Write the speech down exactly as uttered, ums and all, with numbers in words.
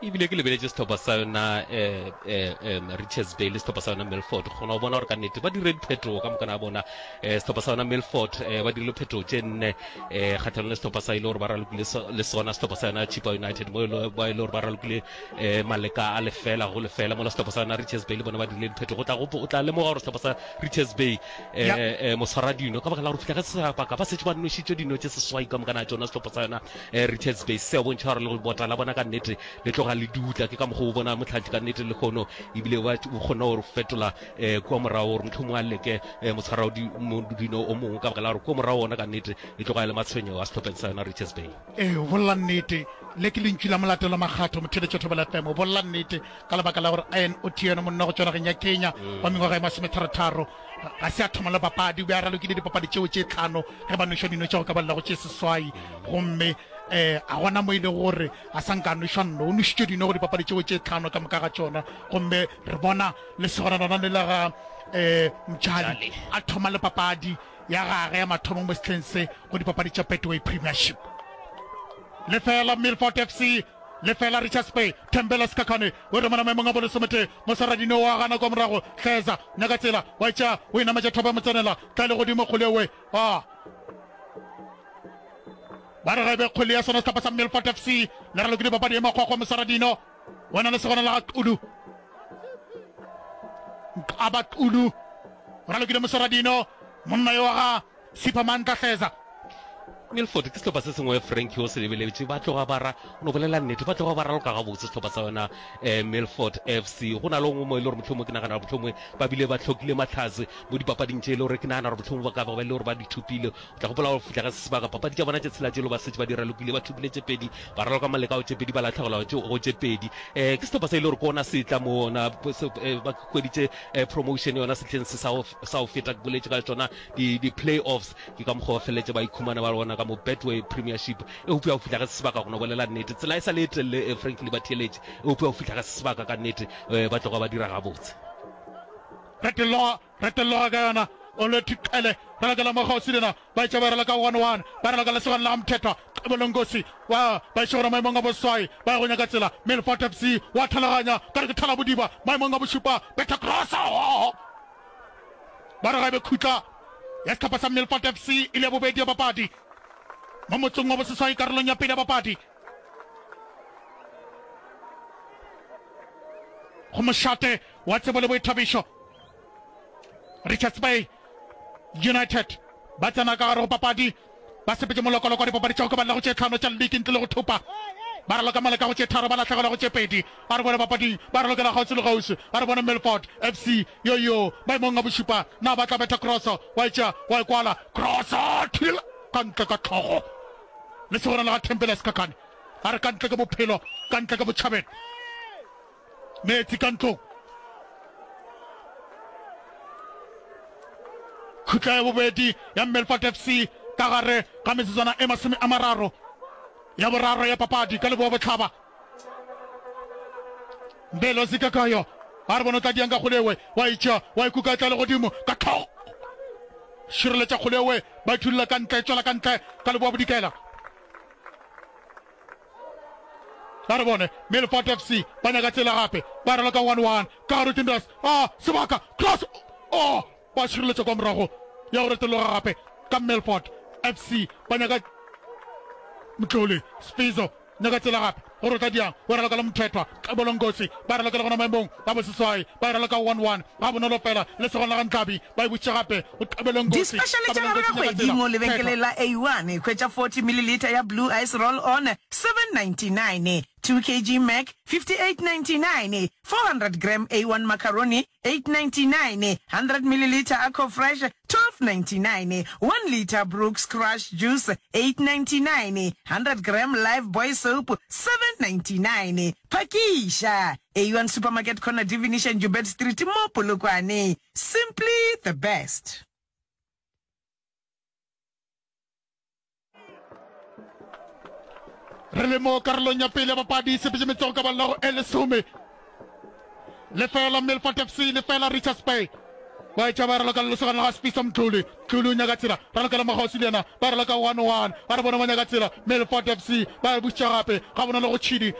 Ebile ke lebeletše sehlopha sa yona eh, eh, eh, Richards Bay le sehlopha sa yona Milford, kgona go bona gore ka nnete ba dire diphetogo ka mokana ga bona. eh, Sehlopha sa yona Milford eh, ba dirile phetogo tše nne eh, kgatlhanong le sehlopha sa ile gore ba ralokile le sona sehlopha sa yona Chippa United, mo ba ile gore ba ralokile eh, maleka a lefela go lefela, mola sehlopha sa yona Richards Bay le bona ba dirile diphetogo. O tla o tla lemoga gore sehlopha sa Richards Bay eh, eh, moswaradino ka baka la gore fihla ka sebaka ba setse ba nwešitše dino tše seswai ka mokana ga tšona. Sehlopha sa yona eh, Richards Bay se bontšha gore le bota la bona ka nnete le tloga le dutla. Ke ka mokgwa o bona motlhatli ka nnete le kgono ebile ba o kgona gore fetola eh, kua morago gore mohlomongwe a leke eh, motshwara dino o mongwe, ka baka la gore kua morago ona ka nnete e tloga e le matshwenyego a sehlopheng sa yona Richards Bay. Ee, o bolela nnete. Le ke lentšu la Molatelo Makgatho, motheeletši wa Thobela F M. O bolela nnete ka lebaka la gore Ian Otieno, monna go tšwa nageng ya Kenya wa mengwaga e masometharotharo, ga se a thoma le papadi. O be a ralokile dipapadi tšeo tše tlhano ge ba nwešwa dino tša go ka balela go tše seswai, gomme um a gona mo e lego gore a sa nka a nwešwa nno. O nwešitšwe dino go dipapadi tšeo tše tlhano ka moka ga tšona, gomme re bona lesogana lona le la ga um Mtšali a thoma le papadi ya gage ya mathomo mo sehleng se go dipapadi tša Betway Premiership. Lefela Milford F C, lefela Richards Bay. Thembela Sikhakhane o remana maemong a bolesometee. Mosaradino wa gana kwa morago. Hleza nyaka tsela wa e tšea, o e nametša thopa ya motsenela. Tla le godimo kgole ewe. A ba re ga e be kgole ya sona sehlopha sa Milford F C. Le ralokile papadi e makgwakgwa. Mosaradino o na le segona la ga Xulu. Nqaba Xulu o ralokile Mosaradino, monna yo wa ga Sipha Mantla Hleza. Milford ke sehlopha se sengwe Frankie o se lebeletše, ba tloga ba ra o no bolela nnete, ba tloga ba raloka gabotse sehlopha sa yona eh, Milford F C. Go na le ongwe mo e le gore mohlomongwe ke nagana gore mohlomongwe ba bile ba hlokile mahlatse mo dipapading tše e le gore ke nagana gore mohlomongwe ba ka ba ba e le gore ba di thopile. O tla gopola gore fihla ga se sebaka papadi tša bona tše tshela tše le ba setse ba di ralokile, ba thopile tše pedi, ba raloka maleka go tše pedi, ba lahlegelwa go tše pedi. Eh, ke sehlopha se e le gore ke ona se tla mo ona eh, ba hweditše eh, promotion yona sehleng se sa go feta, ke boletše ka tšona di, di play-offs. Ke ka mokgwa ba feleletše ba ikhumana ba bona ka mo Betway Premiership. Eupša go fihla ga se sebaka go no bolela nnete, tsela e sa le e telele eh, frankly ba theeletše, eupša go fihla ga se sebaka ka nnete eh, ba tloga ba dira gabotse. Retologa, retologa ka yona, Olwethu Qele, ralokela mo kgauswi le yena, ba etša ba raloka one one, ba raloka lesogana la ga Mthethwa, Qebolo Nkosi, wa ba iše gona maemong a boswai, ba ya go nyaka tsela, Milford F C, wa thalaganya, ka re ke thalabodiba, maemong a bošupa, betha cross, ba re ga e be khutla ya sehlopha sa Milford F C e le ya bobedi ya papadi mo motsong wa boseswai karolong ya pele ya papadi. Go mošate wa tsebo le boithabišo, Richards Bay United ba tsena ka gare go papadi, ba sepetše molokoloko wa dipapadi tša go ka balela go tše tlhano tša liki ntle le go thopa. Ba raloka maleka go tše tharo, ba lahlegelwa go tše pedi. A re bone papading, ba ralokela kgauswi le kgauswi. A re bone Milford F C yo yo maemong a bošupa. Na ba tla betha kroso? Wa e tšea, wa e kwala. Kroso! Thula ka ntle ka hlogo. Lesogana la ga Thembela Sikhakhane a re ka ntle ke bophelo, ka ntle ke botšhabelo. Meetse ka ntlong. Khutla ya bobedi ya Milford F C ka gare ga metsotswana e masome a mararo ya boraro ya papadi ka leboa bohlaba. Mbelo Zikakayo a re bona o tla diang ka kgolewe, wa e tšea wa e kuka e tla le godimo ka tlhogo. Šireletša kgolewe, ba e thulela ka ntle, e tšwela ka ntle ka leboa bodikela. A re bone Milford F C ba nyaka tsela gape, ba raloka one one ka gare Kindas, ah sebaka cross, oh ba šireletša kwa morago ya go retologa gape ka Milford F C ba nyaka Mtloli Sfizo nyaka tsela gape go rotla diang o raloka le Mthethwa Qebolo Nkosi ba raloka le gona maemong a boseswai ba raloka one one ga bonolo fela le segona la ga Ntlabi ba e bušitše gape go Qebolo Nkosi Dispešale tša Qebolo gare ga Nkosi nyaka kgwedi tsela mo lebenkeleng Mthethwa la A one. Hwetša forty milliliter ya Blue Ice Roll On, seven ninety-nine, two kg Mac, fifty-eight ninety-nine, four hundred gram A one Macaroni, eight ninety-nine, hundred milliliter Aqua Fresh, twelve ninety-nine, one litre Brooks Crush Juice, eight ninety-nine, hundred gram Lifebuoy Soap, seven ninety-nine. Phakiša! A one Supermarket Corner Divination Joubert Street mo Polokwane. Simply the best. Re le mo karolong ya pele ya papadi, sepetše metsogo ka balla go e lesome. Lefela Milford F C, lefela Richards Bay. Ba etša ba raloka le lesogana la ga Sfiso Mdluli. Mdluli o nyaka tsela, ralokela mokgauswi le yena, ba raloka one one. Ba re bona ba nyaka tsela, Milford F C ba e bušetša gape gabonolo go Tšhidi.